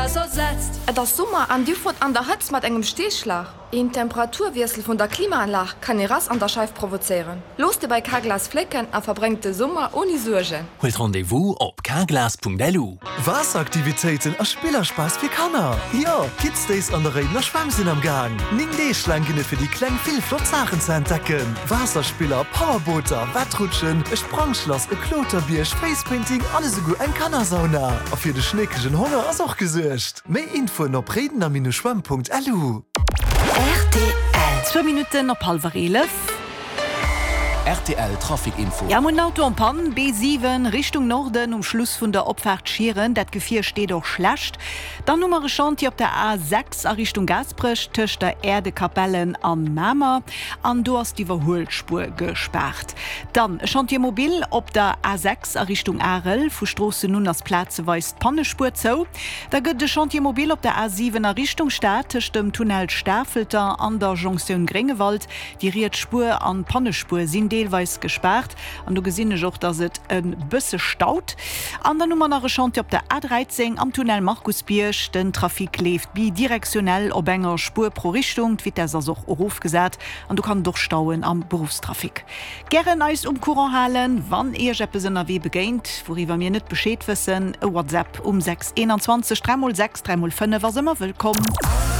Carglass ersetzt. Et ass Summer an dir fuert an der Hëtzt mat engem Steeschlag? Een Temperaturwiessel vun der Klimaanlag kann ee Rass an der Scheif provozéieren. Looss dir bei Carglass flécken a verbréngt de Summer ouni Suergen. Huelt Rendez-vous op carglass.lu. Waasseraktivitéiten a Spillerspass fir Kanner! Jo, Kids Days an der Réidener Schwämm sinn am Gaang! 9 Deeg laang ginn et fir déi Kleng vill flott Saachen ze entdecken, Waasserspiller, Powerbooter, Wettrutschen, e Sprangschlass, e Kloterbierg, Facepainting an esouguer eng Kannersauna! A fir de schneekegen Honger ass och gesuergt! Méi Infoen op réidener-schwämm.lu. Rtl. Zwou Minutten op hallwer 11. Rtl Trafic Info. Ja, mir hunn en Auto en panne, B7 Richtung Norden um Schluss vun der Opfaart Schieren. Dat Gefier steet och schlecht. Dann hu mer e Chantier op der A6 a Richtung Gaasperech tëscht der Äerdekapellen an Mamer an do ass d'Iwwerhuelspuer gespaart. Dann e Chantier mobile op der A6 a Richtung Arel. Vu Stroossen un ass plazeweis d'Pannespuer zou. Da gëtt e Chantier mobile op der A7 a Richtung Stad tëscht dem Tunnel Stafelter an der Jonktioun Gréngewald. Déi riets Spuer an d'Pannespuer sinn deelweis gespaart an do gesinn ech och, dass et e bësse staut. An dann hu mer nach e Chantier op der A13 am Tunnel Markusbierg. Den Trafic leeft bidirektionell op enger Spuer pro Richtung. D'Vitess ass och erofgesat an do kann et och stauen am Beruffstrafic. Gären eis um Courant halen, wann Iech eppes ënnerwee begéint, wouriwwer mir net Bescheed wëssen. E WhatsApp um 6 21 3 x 6 3 x 5 ass ëmmer wëllkomm.